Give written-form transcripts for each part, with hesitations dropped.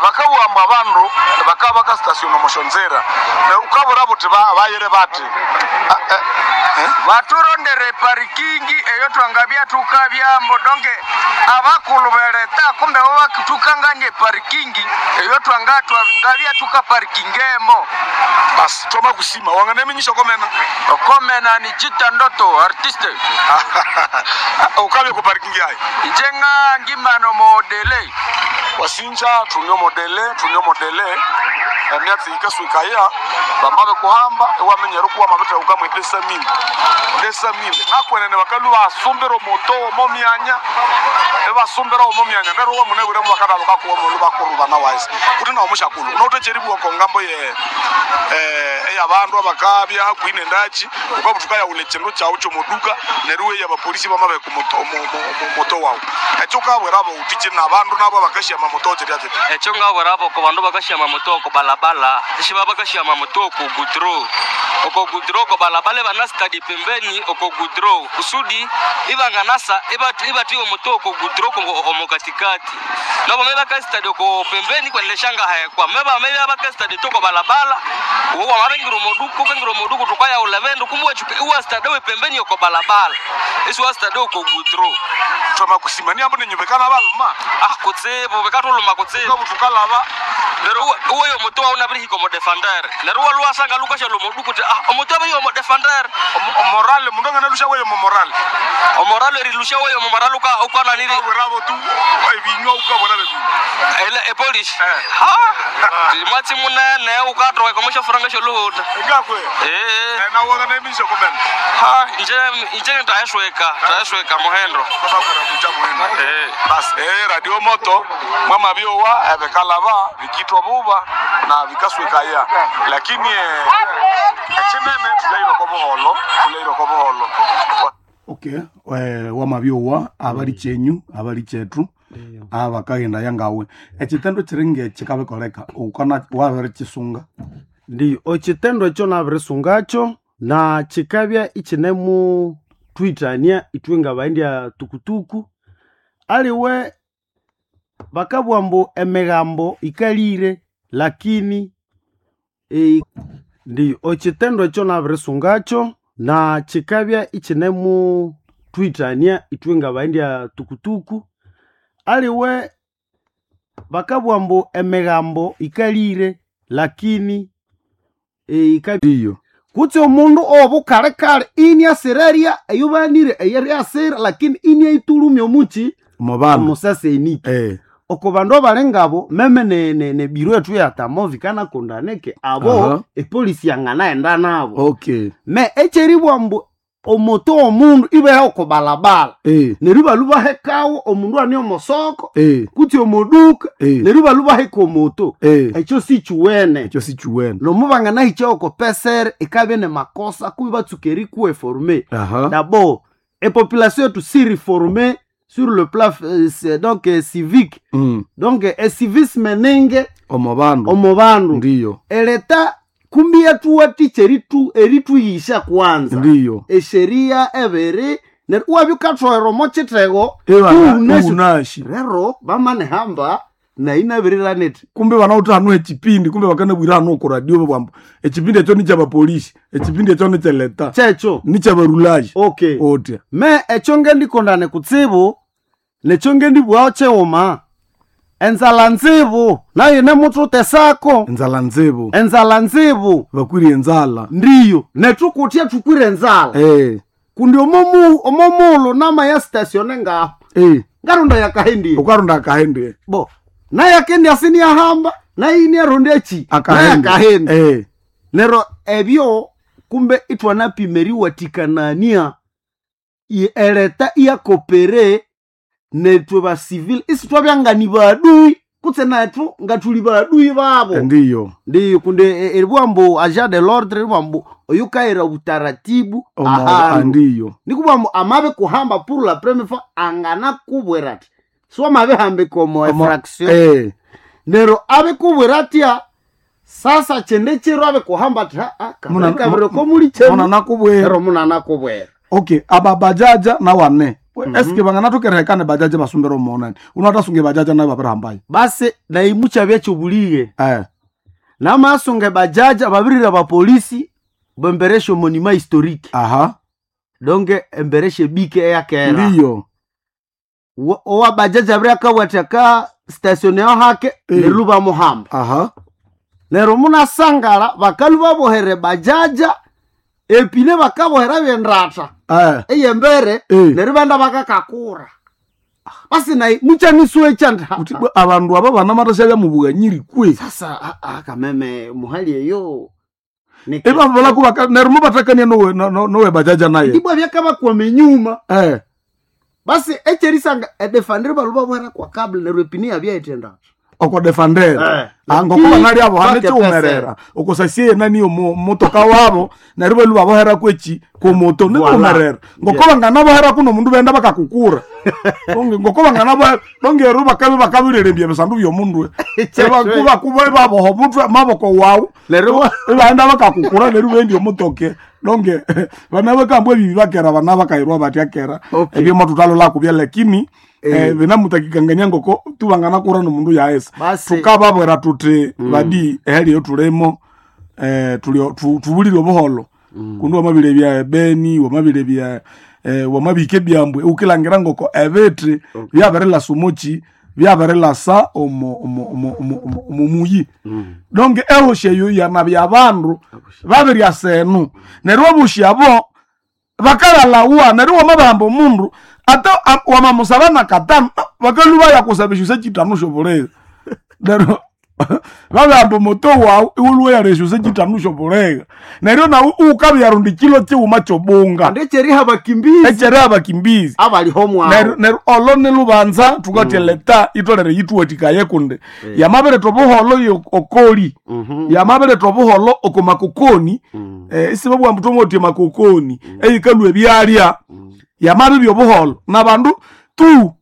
Bakabugha ambu abandu bakaba bakastasiona omusyonzira. Ukabura buthi bayire bathi. Baturondere parikingi eyo twangabya tukabyambo donke abakulhu beleta kumbe bo bakitukangania eparikingi eyo twangabya tukaparikingemo. Basi twama kusima wanganeminyisha komena. Okomena ni Chita Ndoto artiste. Ukabya ku parikingi ayi. Inje nga ngimano modele. Wasinja tunyo modele tunyo modele emyatsi yikaswikaya bamabe kuhamba ewamenyera okuwa mabete ukamwe desamile desamile nakwenene bakalu basumbira omoto omo myanya ebasumbira omo myanya neryo wamunebwire mubakada bakakuwa omulu bakurubana wise kuti nawo mushakulu unawuthecheribuwa kongambo ye eyabandu abakabya hakuhi nendachi ukabuthi ukayawula ekindu kyawu kyomoduka neryo iweya abapolisi bamabeka omoto wawu ekyo ukabwira abawuthi kina abandu nabo abakasyama moto kirya kiti. Ekyo ngabwira oko bandu bakasyama moto oko balabala ishiba bakasyama moto oko gudro oko gudro oko balabala ibanasitadi pembeni oko gudro kusudi ibanganasa ibatiwe moto oko gudro omo katikati nobo me bakasitadi oko pembeni kweneleshanga hekwa meba me bakasitadi toko balabala uwa mabengira omoduka ukengira omoduka tukayawula bendu kumbe iwasitadi we pembeni oko balabala isi wasitadi oko gudro. Twama kusima niambo ninyubekana baluma. Ah kutsibu bekatuluma kutsibu. Ukabuthi ukalaba neryo uweyo omuto wawu nabirihika omo defender neryo walwasanga lukasha lomoduka uthi ah omuto abiriyo omo defender. Omorale mundu anganalusha weyo momorale. Omorale erilusha weyo omorale ukananiri. Ukabwirabo tu ebinywa ukabwira bebinywa. Ele epolish. Ha! Mwatsi munene ukatoka komosha furanga sholuhuta. Ngakwe. Na wangana emisha komena. Ha, inje inje tayashweka, tayashweka muhendo. Bakora kucha muhendo. Bas radio moto mwama byowa ebekalaba bikitwa buba na vikaswekaya lakini echinene tuleiro ko buholo tuleiro ko buholo. Okay, wamabyowa abali chenyu abali chetu abakagenda yangawe ekitendo kiringe kikabikoleka ukana wabere kisunga. Ndiyo ekitendo ekyo nabirisungacho na kikabya ikinemu twitania ithwe ngabaendya tukutuku aliwe bakabugha ambu emigambo ikalire lakini ndiyo ekitendo ekyo nabirisungacho na kikabya ikinemu twitania ithwe ngabaendya tukutuku aliwe bakabugha ambu emigambo ikalire lakini Ndiyo kutse omundu obukalekale iniasiraria eyobanire eyeriasira lakini iniaitulumya omuchi omubandu omusaseniki oko bandu abali ngabo meme ne biro ethu ya tamovi kanakondaneke abo epolisi yanganaghenda nabo. Okay. Me ekyeribugha mbu omoto omundu ibeha oko balabala neryo ibalhwa ibahekawo omundu ane omosoko kutse omoduka neryo ibalhwa ibaheka omoto ekyo sikiwene. Ekyo sikiwene. Nomu banganahikya oko pesere ikabya nemakosa kubi batsuka erikuwa eforme. D'abord epopulation yetu si reforme sur le plan donc civique. Donc ecivisme ninge omubandu omubandu. Ndiyo. Eleta kumbi yathuwathikya erituyisha kwanza. Ndiyo. Esheria ebiri neryo iwabya wukathoghera omo kithego unashi rero bamanihamba nayi nabiriranete kumbe banawutha hanu ekipindi kumbe bakanabwira hanu oko radio babwambu ekipindi ekyo nikyabapolisi ekipindi ekyo nikyeleta kyekyo nikyabarulaji. Okay. Otya me ekyo ngendikondane kutsibu nekyo ngendibughaho kyighuma enzala nzibu nayo nemuthutesako. Enzala nzibu. Enzala nzibu. Bakwire enzala. Ndiyo nethukuthya thukwire enzala. Kundi omomulhu namaya statione ngaho ngarunda yakahendie. Ukarunda akahendie. Bo nayakendi asiniyahamba nayiniarunda echi nayakahenda. Neryo ebyo kumbe ithwanapima eriwathikanania eleta iyakopere nethu basivile isithwabya ngani badui kutse nethu ngathuli badui babo. Ndiyo. Ndiyo kundi eribugha ambu agent de l'ordre eribugha ambu oyukayira obutaratibu ahandu. Ndiyo. Nikubugha ambu amabi kuhamba pour la première fois anganakubwira athi siwamabihambika omo infraction. Neryo abikubwira atya sasa kyende kiro abikuhamba athi haa kabiri komuli kyenu. Munanakubwira. Neryo munanakubwira. Okay, ababajaja nawane Eske banganathokerehekana bajaji basumbira omonani unatasunga ebajaji nayo babirihambayo. Basi naimucha byekyobulire Eh. namasunga bajaja babirira bapolisi bembereshe monima historique. Aha. Donc embereshe bike eyakera. Ndiyo. Owa bajaja abiri akawatha station yaho hake. Eh. Neryo bamuhamba. Aha. Neryo munasangala bakalu babohere bajaja epine bakabohera byendratha Eh. eyembere. Eh. Neryo benda bakakakura basi nayi muchanisuwe chanda. Uti bwe abandu aba banamathasya byamubughanyiri kwe. Sasa kameme muhali eyo Ibabalaku neryo mubathakania nowe nowe bajaja naye. ndibwa byakabakwama enyuma. Eh. Basi echerisanga edefandire balu babohera kwa kabla neryo epine yabyaithendratha. Oko defandera. Eh. Angoko banali abo hane Bake chiumerera okosasiye nani motoka wabo neryo balu babohera kwechi komoto Voilà. niumerera ngoko banganabohera kuno mundu benda bakakukura. Ngoko banganabohera nongeru bakabe bakabirerembya ebisandu byomundu kuba baboha omutwe maboko wawu. Neryo ibaenda bakakukura neryo bendi omutoke donge bana bakambwa ebibi bakera bana bakairwa batya kera. Okay. Ebyo matutalola kubya lakini Eh. binamutakikangania ngoko tubangana nomundu yaesa. Basi. Tukababwera tuti badi ehali eyo tulimo tubulire obuholo kundi wamabire bya ebeni wamabire bya wamabika ebyambwe ukilangira ngoko ebiti byabirilasa omoki byabirilasa omo omo omo omo omo omo muyi donge ehoshi eyo yanabya abandu babiryasa enu neryo obushi abo bakalalawa neryo wamabahamba omundu ate wamamusaba na katano bakaluba yakusaba esyo syekitano syobulega neryo babihamba omuto wawu iwulwe yara esyo syekitano syobulega neryo nawu ukabyarundi kilo kiwuma kyobunga. Kandi ekyeriha bakimbizi Ekyeri abakimbizi abaliho mwawo. neryo neryo olo nilubanza thukathya leta itolere yithuwathikaye kundi yamabiretha obuholo okoli yamabiretha obuholo oko makokoni isibabugha ambu thwamawatya makokoni eyikalhwa ebyalya yamabibya obuholo nabandu tu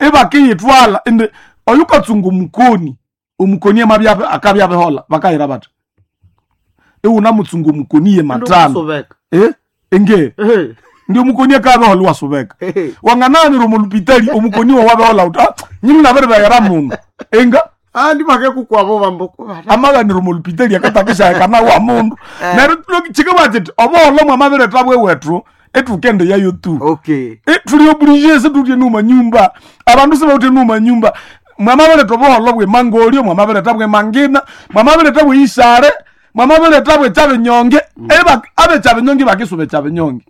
ibakiyithwala indi oyukatsunga omukoni omukoni amabya akabya abihola bakayira bathi iwunamutsunga omukoni ye matano. Kusubeka. Eh? Inge Ehe. ndi omukoni akabihola iwasubeka. Ehe. Wangananira omulupitali omukoni wawabihola uthi ah, nyini nabiribeghera muno inga. Andi bakekukwabo bambo Amaganira omulupitali akatakishahekana wa mundu neryo kikabugha kiti obuholo mwamabiretha bwewethu ethukende yayo tu. Okay. Tuli oblige situtye numa nyumba abandu sibawuthe numa nyumba mwamabiretha obuholo bwe mangolyo mwamabiretha bwe mangina mwamabiretha bwe isare mwamabiretha bwe kyabinyonge abekyabinyonge bakisuba ekyabinyonge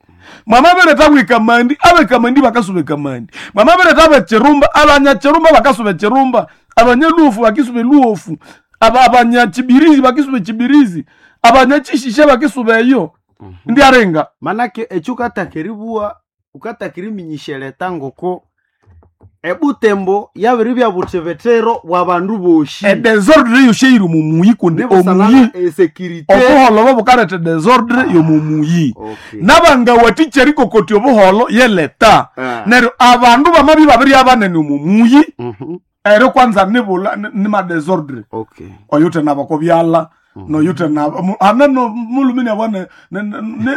mwamabiretha bwe kamandi abekamandi bakasuba ekamandi mwamabiretha bwe kirumba abanyakirumba bakasuba ekirumba abanyaluofu bakisuba eluofu abanyakibirizi bakisuba ekibirizi abanyakishisha bakisuba eyo ndiarenga. Manake ekyo ukatakeribuwa ukatakiriminyisha ngoko ebutembo yabiri bya buthebethero bwa bandu boshi. Edesordre yosheiri mumuyi kundi omuyi Nibusanana esecurity. obuholo bobukaleta desordre yomumuyi. Okay. Nabangawathikya erikokotya obuholo yeleta. Ah. Neryo abandu bamabya babirya banene omumuyi eryo kwanza nibula nimadesordre. Okay. Oyuthe nabo byala noyuthe nabo hane no mulumini abo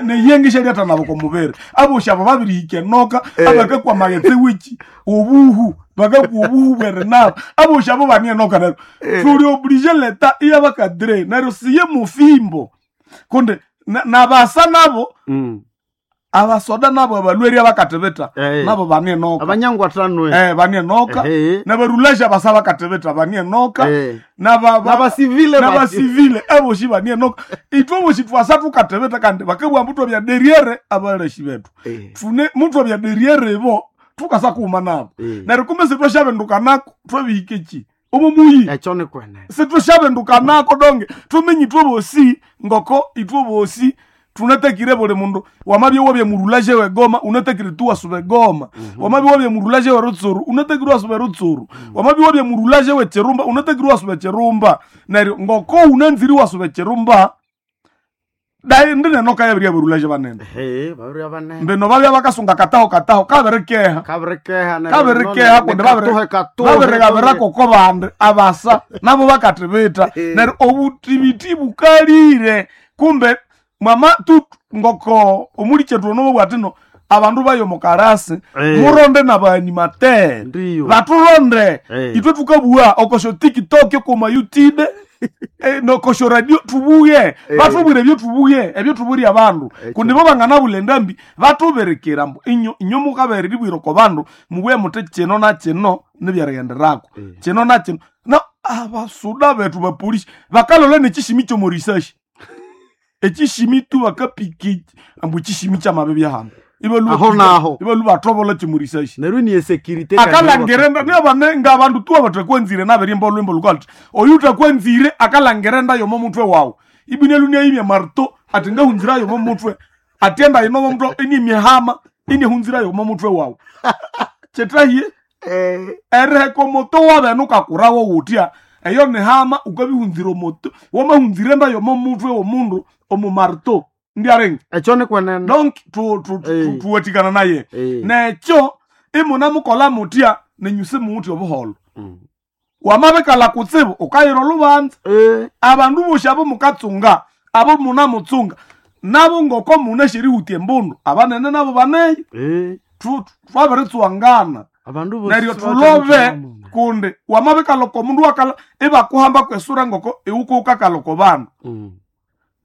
neyengisha lyatha nabo komubiri aboshi abo babirihika enoka abakakwa maghetse wiki obuhu bakakwa obuhu bwerinabo aboshi abo bani enoka neryo tuli oblige leta iyabakadire neryo siye mufimbo kundi nabasa nabo abasoda nabo abalweri abakathibitha Eh. nabo bani enoka. Abanyangwathanwe. Bani enoka. Ehe. Nabarulasha basa bakatibitha bani enoka. Eh. Nabasivile Nabasivile nabasivile aboshi bani enoka ithwe boshi twasa tukatibitha kandi bakabugha ambu twabya derriere abaleshi bethu. Eh. Tune muthu abya derriere ibo tukasa kuuma nabo. Eh. Neryo kumbe sitwashabendukanako twabihika eki omo muyi. Ekyo nikwenene. Sitwashabendukanako donge tumenye ithwe bosi ngoko ithwe bosi tunatakire buli mundu wamabya wabya murulaje wegoma unatakire tu wasuba egoma wamabya wabya murulaje we rutsuru unatakire wasuba rutsuru wamabya wabya murulaje we chirumba unatakire wasuba chirumba neryo ngoko unanziri wasuba chirumba dai ndinenoka yabirya burulaje banene. Ehe, babirya banene. Mbino babya bakasunga kataho kataho kabirikeha. Kabirikeha neryo Kabirikeha kundi babirigabira koko bandi abasa nabo bakathibitha neryo obutibiti bukalire kumbe mwama tu ngoko omuli kyethu ono bwatino. Abandu bayo mukarasi Eh. muronde na baanimatere Ndiyo. baturonde. Eh. Itwe tukabua okosho TikTok, okoma YouTube, nokosho radio tubuye. Batubwire ebyo tubuye, ebyo tuburi abandu kundi bo banganabula endambi batuberekera mbu inyo inyo mukabere ribwiro ko bandu mubuye muti kino na kino nibyarigenderako kino na kino na abasuda betu bapolisi bakalola nekishimi kyomorisashi ekishimi tu bakapiki ambu ekishimi kyamabe byahano. Aho naho. Ibalu batobola kyomorisashi. Neryo ni security. Akalangirenda niabane ngabandu tu abatakwanzire nabirimba olwimbo lukalti oyu utakwanzire akalangirenda yomo mutwe wawu ibine lunia imya marto ati ngahunzira yomo mutwe atienda inomo mutwe ini mihama ini hunzira yomo mutwe wawu chetahiye ereheko moto wabene ukakurawo wutya eyo nihama ukabihunzira omoto wamahunzirenda yomo mutwe womundu omumarto ndiarenga. Ekyo ni kwenene. Donc Eh. tuwatikana naye. Eh. Nekyo imunamukola mutya nenyuse muwuthi obuholo wamabikala kutsibu ukayira olubanza. Eh. Abandu bosi abo mukatsunga abo munamutsunga nabo ngoko munasherihutia embundu abanene nabo baneyo. Eh. Twabiritsuwangana. Abandu bosi Neryo tulobe kundi wamabikala oko mundu wakala ibakuhamba kwesura ngoko iwuko ukakala oko bandu.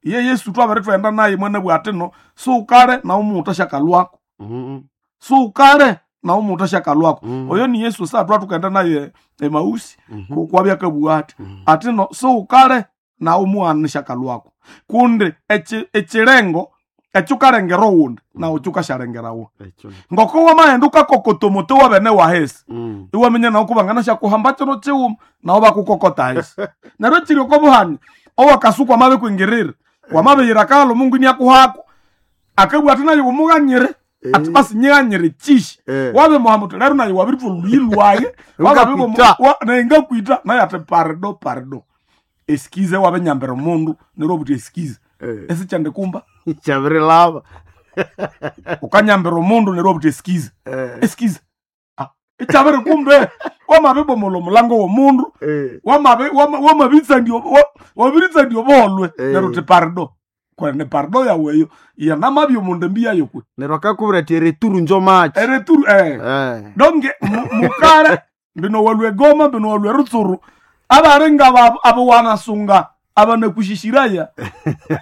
Ye Yesu twabere twenda naye mwene bwatino suukale nawe omuwuta syakalwako. Suukale nawe omuwuta syakalwako. Oyo ni Yesu sa twatukaenda naye emausi kwabya kabugha ati atino suukale nawe omughana syakalwako kundi ekirengo ekyukalengera owundi nawe kyukashalengerawo. Ekyo. Ngoko wamaghenda ukakokota omuti wabene wahesi iwaminya nawe kubangana syakuhamba kino kiwuma nawe bakukokota ahisi neryo kiri oko buhanya owakasuku wamabikwingirira wamabiyira akaghala omungu iniakuhako akabugha ati naye umughanyire ati basi nyighanyire kishi. Eh. Wabimuhamba uthi lero naye wabirithwa oluyi lwaye. Ngakwita. Naye ngakwita naye ati parido parido esikize wabinyambira omundu neryo obuthi esikize esikyandikumba. Kyabirilaba. Ukanyambira omundu neryo obuthi esikize esikize. Ah, ikyabiri kumbe wamabibomola omulango womundu wamabitsandia obuholwe. Neryo uthi parido kwene parido yawe eyo yanamabya omundu embi yayo kwe. Neryo akakubwira ati ereturu njo machi. Ereturu eh. Eh. Donge mukare mbino walwe Goma mbino walwe Rutsuru abaringa abo wanasunga abanakushishiraya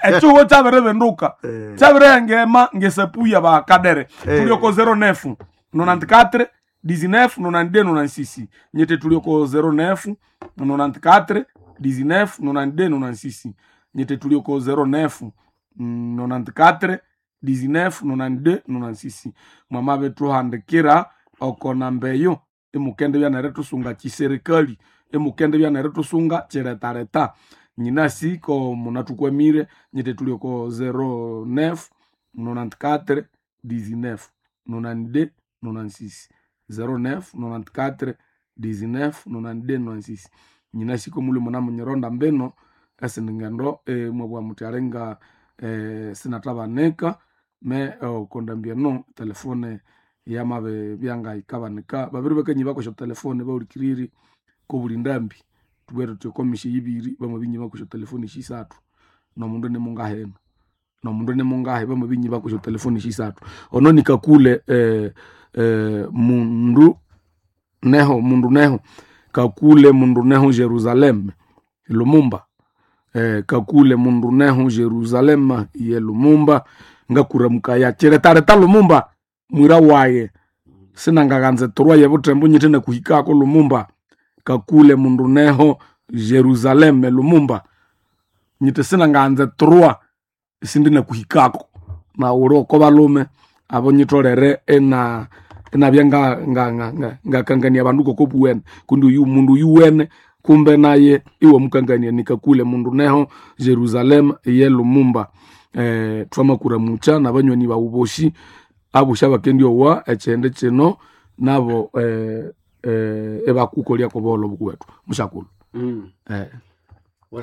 ekihugo kyabiribenduka kyabirihengema ngesapuya bakadere. Tulioko 09 94 19 92 96 nyete tulioko 09 94 19 92 96 nyete tulioko 09 94 19 92 96 mwamabe tuhandikira oko namba eyo imukende byanere tusunga chiserikali imukende byanere tusunga chiretareta nyinasi ko munatukwamire nyete tulioko 09 94 19 92 96 09 94 19 92 96 nyinasi ko muli munamunyironda mbino esindingendo mwabwa muti alinga sinatabanika me okondambia no telefone yamabe byangayikabanika babiri bakanyi bakosha telefone baulikiriri kobuli ndambi tubwere tuti okomisha yibiri bamabinyi bakosha telefone shisathu nomundu nimungaheno nomundu nimungahe bamabinyi bakosha telefone shisathu ono nikakule mundu neho mundu neho kakule mundu neho Jerusalem Lumumba kakule mundu neho Jerusalem ye Lumumba ngakuramukaya chiretareta Lumumba mwira waye sinangaganze torwa ye butembo nyite nakuhikako Lumumba kakule mundu neho Jerusalem Lumumba nyite sinanganze torwa sindi nakuhikako na uri oko balume abo nyitolere ena enabya ngakangania abandu koko buwene kundi uyu mundu yuwene kumbe naye iwe mukangania nikakule mundu neho Jerusalem ye Lumumba twamakura mucha nabanyoni bawu boshi abusha bakendi owa ekyende kino nabo ebakukolya kobolo bukuwetu mushakulu.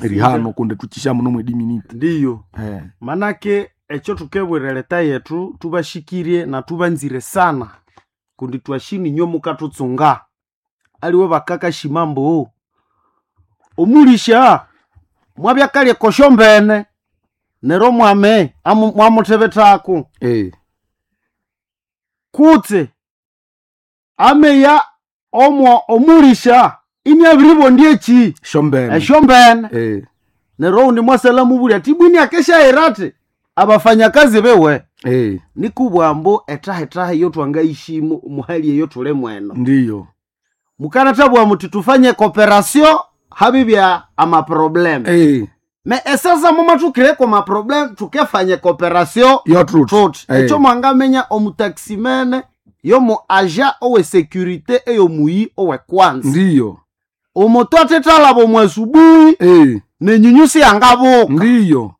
Erihano kundi tukisha muno mwedi minute. Ndiyo. Manake ekyo tukebwira leta yetu tubashikirie na tubanzire sana kundi twashini inywe mukatutsunga aliwe bakakashima mbu omulisha mwabyakalya kosho mbene nero mwame mwamuthebethako. Kutse ameya omwo omulisha iniabiribondya eki Shombene. esyombene. Eh. Neryo oundi mwasala mubulya ati bwini akeshaira ati abafanyakazi bewe. Eh. Nikubwambo etahe-tahe iyo twangaishimu muhali eyo tuli mweno. Ndiyo. Mukanathabwa muti tufanye cooperation habibya amaprobleme. Eh. Me esasa mumathukireko maprobleme tukefanye cooperation Yo truth. tuti. Eh. Ekyo mwangamenya omutaximene yomu aja owe securite eyomuyi owe kwanza. Ndiyo. Omutu athethalaba omu asubuhi Eh. nenyunyusi yangabuka. Ndiyo.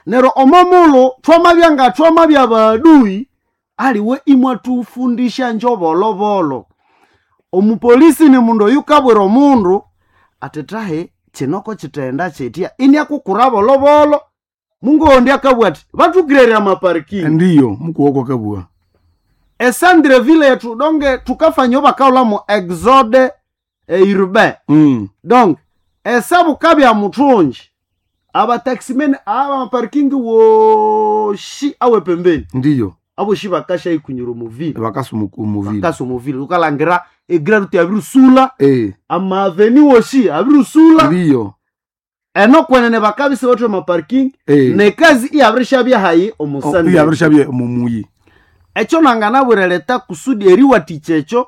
Neryo omomulhu thwamabya nga thwamabya badui aliwe imwathufundisha njobolobolo. Omupolisi ni mundu oyukabwira omundu ati tahe kinoko kithenda kyitya iniakukura bolobolo mungondi akabugha ati bathukirerya amaparking. Ndiyo. Mukuwoko kabua. Esandreville yethu donge thukafanya bakaghulhamu exode urbain. Donc esabukabya muthungi abataximene aba maparking woshi awe pembeni. Ndiyo. Aboshi bakasha ikunyura omuvile. Bakasa omuvile. Bakasa omuvile ukalangira egrade abirusula. Eh. Amaveni woshi abirusula. Ndiyo. Eno kwenene bakabisa bathu amaparking. Eh. Nekazi iyabirishabya hayi omusande. Iyabirishabya mumuyi. Ekyo nanganabwira leta kusudi eriwathikya ekyo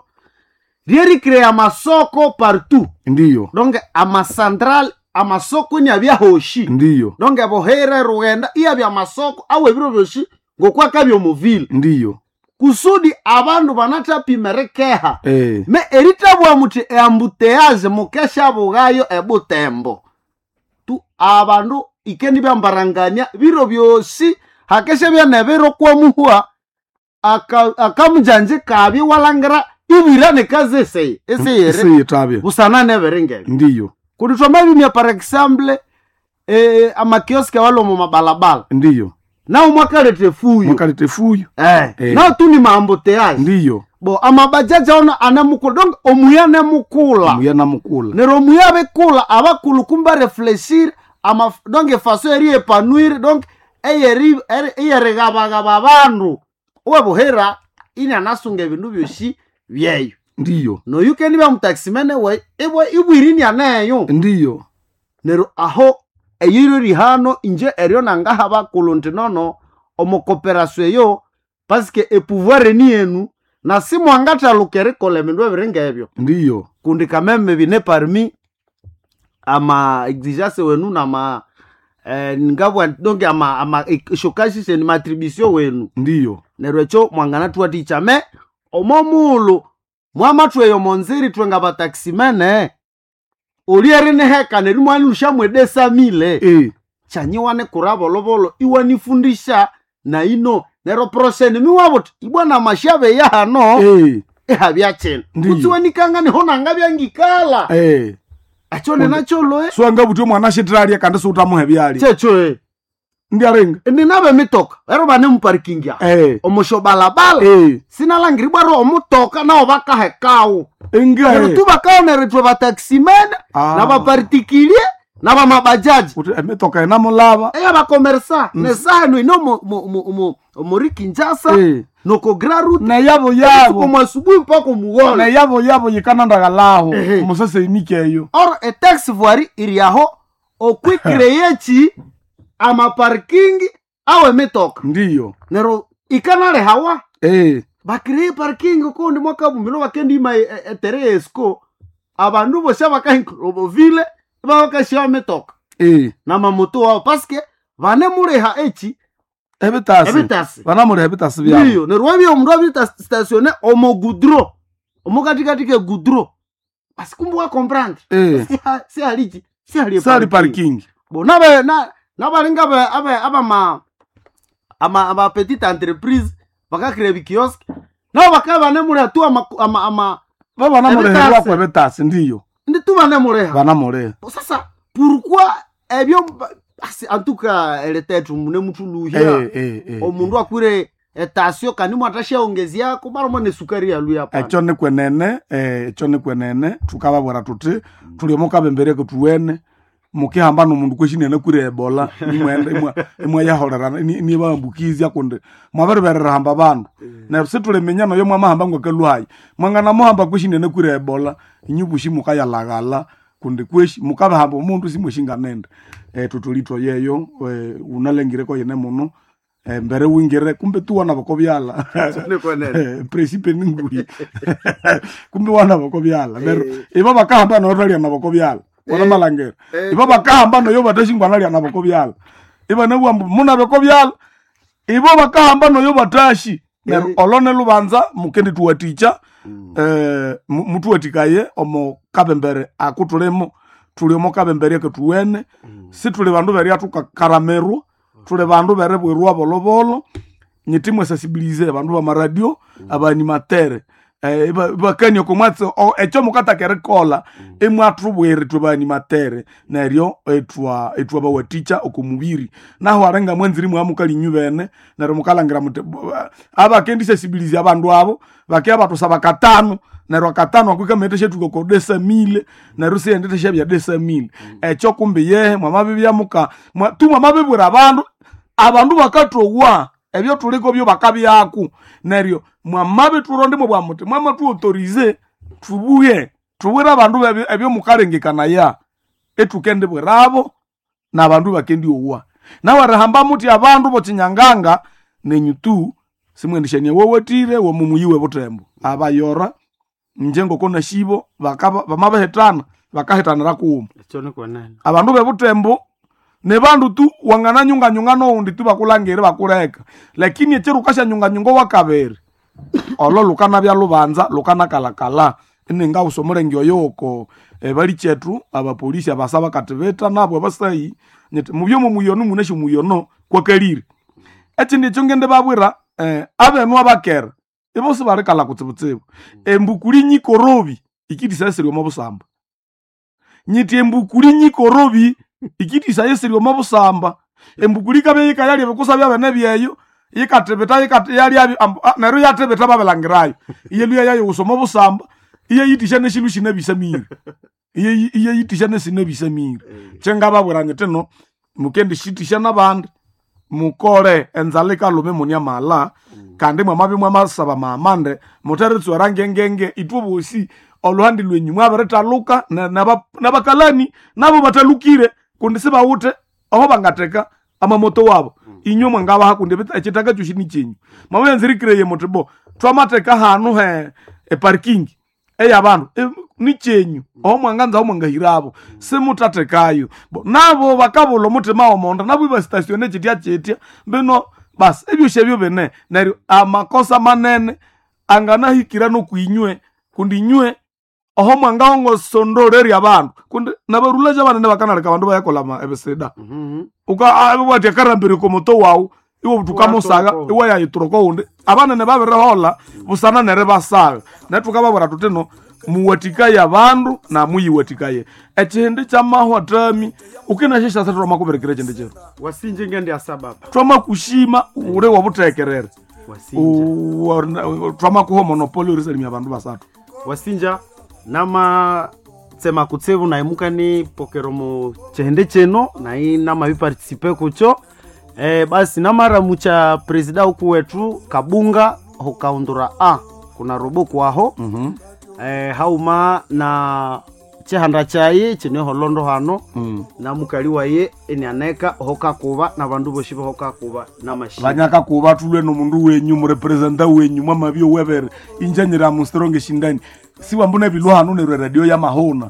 ryericrea amasoko partout. Ndiyo. Donc amacentral amasoko iniabya hoshi. Ndiyo. Donc ebohera rughenda iyabya amasoko awe ebiro byoshi ngokwakabya omuvile. Ndiyo. Kusudi abandu banathapima erikeha. Eh. Me erithabugha muthi eambuteyaje mukeshabughayo ebutembo. Tu abandu ikendibambarangania biro byosi hakeshabya nebiro kwamuhwa akamujanji kabi walangira ibwira nekazi eseye eseyere Eseyethabya. busana nebere ngebyo. Ndiyo. Kundi twamabimya par exemple amakioski awali omu mabalabala. Ndiyo. Nawo mwakaletha efuyo. Mwakaleta efuyo. Eh. Eh. Nawo tu ni maambuteyaje. Ndiyo. Bo amabajaji ono anemukula donc omuya nemukula. Omuya namukula. Neryo omuya abikula abakulhu kumbe refleshir ama donc efaso eriepanuire donc eyeri eyerigabagaba abandu owebuhera inianasunga ebindu byosi byeyo. Ndiyo. Noyukendibya mutaximene we ibwe ibwiri inianeyo. Ndiyo. Neryo aho eyiro rihano inje eryo nangaha bakulhu nti nono omo cooperation eyo paske epouvoir ni yenu na simwangathaluka erikolha ebindu ebiri ngebyo. Ndiyo. Kundi kameme bine parmi ama exigence wenu nama ngabwa donc ama ama shokashishe ni matribution wenu. Ndiyo. Neryo ekyo mwanganathuwathikya me omo mughulhu mwamathwa eyo monziri ithwe ngabataximene olyeriniheka neryo imwanilhushamu edesamile. Eh. Kyanyiwane kura bolobolo iwanifundisha na ino neryo prosheni miwabuthi ibwana amashabe yahano. Eh. Ihabya kino. Ndiyo. Kutsi wanikanga niho nangabya ngikala. Eh. Ekyo ninakyo Siwangabuthi omwana ashithalya kandi siwuthamuha ebyalya. Kyekyo e. Ndiaringa. Ninabe emitoka ero bane muparking aho. Eh. Omusho balabala. Eh. Sinalangiribwa ro omutoka nawo bakahekawo. Inga. Neryo tu bakaonera ithwe bataximene Ah. nabaparticulier nabamabajaji. Uthi emitoka inamulaba. Eyabakomersa nesaha eno ino omuri Kinshasa Eh. noko Grand Route. Neyabo yabo. Omu asubuhi mpaka omugholo. Neyabo yabo yikanandakalaho. Ehe. Omusase eyo. Or etax voirie iri aho okwicreye ki amaparking awe emitoka. Ndiyo. Neryo ikanalehawa. Eh. Bacreye parking kundi mwakabumino bakendima etere esco abandu bosi abakahinkrovile babakashiwa emitoka. Eh. Namamoto wabo paske vanemuleha eki Ebitasi. Ebitasi. Banamuleha ebitasi byabo. Ndiyo, neryo wabya omundu abiri statione omo goudron omukatikati ke goudron basi kumbe wakomprendre. Eh. Sihaliki sihali Sali parking. Bo nabe na nabalinga abe abe abama ama ama petite entreprise bakakire bikiosk nabo bakaba banemuleha tu ama ama ama Babanamuleha Ebitasi. kwa ebitasi ndiyo. Ndi tu banemuleha. Banamuleha. Bo sasa pourquoi ebyo asi en tout cas eletetu mune mutuluhya. Eh eh eh. Omundu akwire etasio kandi mwatashaongezyako mara mwane sukari yaluya pana. Ekyo nikwenene ekyo nikwenene thukababwira thuthi thuli omo kabembereko thuwene. Mukihamba nomundu kweshini anakwire ebola nimwenda imwayaholerana nibaambukizya kundi mwabiriberera hamba bandu. Neryo situliminya noyo mwamahamba ngwakaluhayi mwanganamuhamba kweshini anakwire ebola, inyu bushi mukayalaghala kundi kweshi mukabahamba omundu simweshinganende. Tutulitwa yeyo unalengireko yene muno, mbere wingire kumbe tu wana bokobyala. Presipe ninguli kumbe wana bokobyala neryo ibo bakahamba noyo thalya nabo kobyala wana malangera ibo bakahamba noyo batashingwa nalya nabo kobyala ibanabugha ambu munabe kobyala ibo bakahamba noyo batashi neryo olone lubanza mukendithuwathikya, mutuwatikaye omo kabembere akutulimo tuli omo kabembere akathuwene. Situli bandu berya tukakaramirwa, tuli bandu beribwirwa bolobolo. Nyiti mwesasibilize abandu bamaradio, abaanimatere, ibakania oko mwatsi ekyo mukataka erikolha imwathubwira ithwe baanimatere neryo ithwa bawathikya oko mubiri. Nahu alinga mwanzire imwamukalinyu bene neryo mukalhangira muthi abakendisasibilizya abandu abo bakibya bathusaba katano neryo akatano ako ikamayitha syathuka oko desamile neryo siyenditha syabya desamile. Ekyo kumbi yehe mwamabibya muka tu mwamabibwira abandu, abandu bakathowa ebyo thuliko byo bakabyaku neryo mwamabithuronda imwabugha muthi mwamathuauthorize thubuhe thubwire abandu ebyo mukalengekanaya ithukendibwirabo nabandu bakendiowa. Nahu erihamba muthi abandu bokinyanganga nenyu tu simwendishania wowathire womumuyi webuthembo abayora inje ngoko nashibo bamabihithana bakahitanira kughuma. Abandu bebuthembo nibandu tu wangananyunganyunga nowundi tu bakulangire bakuleka, lakini ekiro wukasyanyunganyunga owakabiri olo lukanabya lubanza lukanakalakala. Iningawusa omulenge oyo oko balikyetu abapolisi abasa bakathibitha nabo abasayi nyithi mubye omumuyono munasi omuyono kwakalire. Ekindi ekyo ngendibabwira, abenu abakera ibo sibalikalha kutsibutsibu. Embukuli nyikorobi ikithisayisirya omo busamba, nyithi embukuli nyikorobi ikithisayisirya omo busamba. Embukuli ikabya yikayalya ebikusa byabene byeyo yikathibitha yalyabyo neryo yathibitha babilangirayo iyalhwa yayiwusa omo busamba iyayithisya nesindu sinabisamire, iyayithisya nesinabisamire. Kyengababwira nyithi no mukendisithisya nabandi mukole enzalha ikalhuma imune amaghalha kandi mwamabya mwamasaba amaamande mutheritsuwera ngengenge ithwe bosi olhuhandi lwenyu mwabirithaluka nabakalani nabo bathalukire kundi sibawithe aho bangatheka amamoto wabo. Inywe mwangabaha kundi ekithaka kyosi nikyenyu. Mwamabyanzirikireye muthi bo thwamatheka hanu he eparking eyabandu nikyenyu aho mwanganza aho mwangahirabo simuthathekayo. Nabo bakabulha omuthima womonda nabo ibasitasione kyitya kyitya mbino basi ebyosi ebyo bine neryo amakosa manene anganahikira nokwinywe kundi inywe oho mwangahongosondolerya abandu kundi nabarulaja abanene bakanaleka abandu bayakolha ebisida. Uka akarambirya oko muto wawu iwe thukamusaga iwayayithura oko wundi abanene babiriholha busana neribasagha. Neryo thukababwira thuthi no muwathikaye abandu namuyiwathikaye. Ekihindi kyamahwa thami ukinasyasyasa thwamakubirikira ekindi kiro. Wasinje ngendiasa baba. Thwamakushima uli wobuthekerere. Wasinja. Thwamakuha monopoli erisalimya abandu basathu. Wasinja nama tsema kutsibu nayi mukani pokera omu kihindi kino nayi namabiparticipe kukyo. Basi namaramucha presida uku wetu Kabunga hukaundura a kuna robo kwaho. Hauma na chihanda chayi chine holondo hano. Na mukali waye enianeka hokakuba na bandu boshi hokakuba na mashi Banyakakuba thulwe nomundu wenyu murepresenta wenyu mwamabyo webere injanyira mu strong shindani siwambuna ebilwa hanu neryo radio ya mahona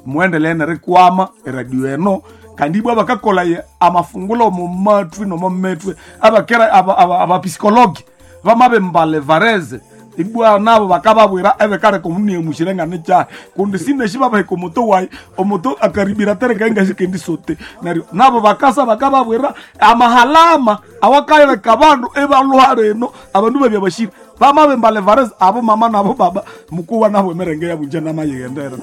muendelee nerikwama eradio eno kandi ibwa bakakola amafungulo omu matwi nomo metwe abakera abapsikologi bamabembale vareze ibwa nabo bakababwira ebikaleka omuniemushire nga nikyahi kundi sineshi babaheka omuto wayi omuto akaribira tereka ingashikendi sote neryo nabo bakasa bakababwira amahalama awakaleka abandu ebalhuha rino abandu babya bashira bamabembale vareze abo mama nabo baba mukuwa nabo emerenge yabunja namayighendera.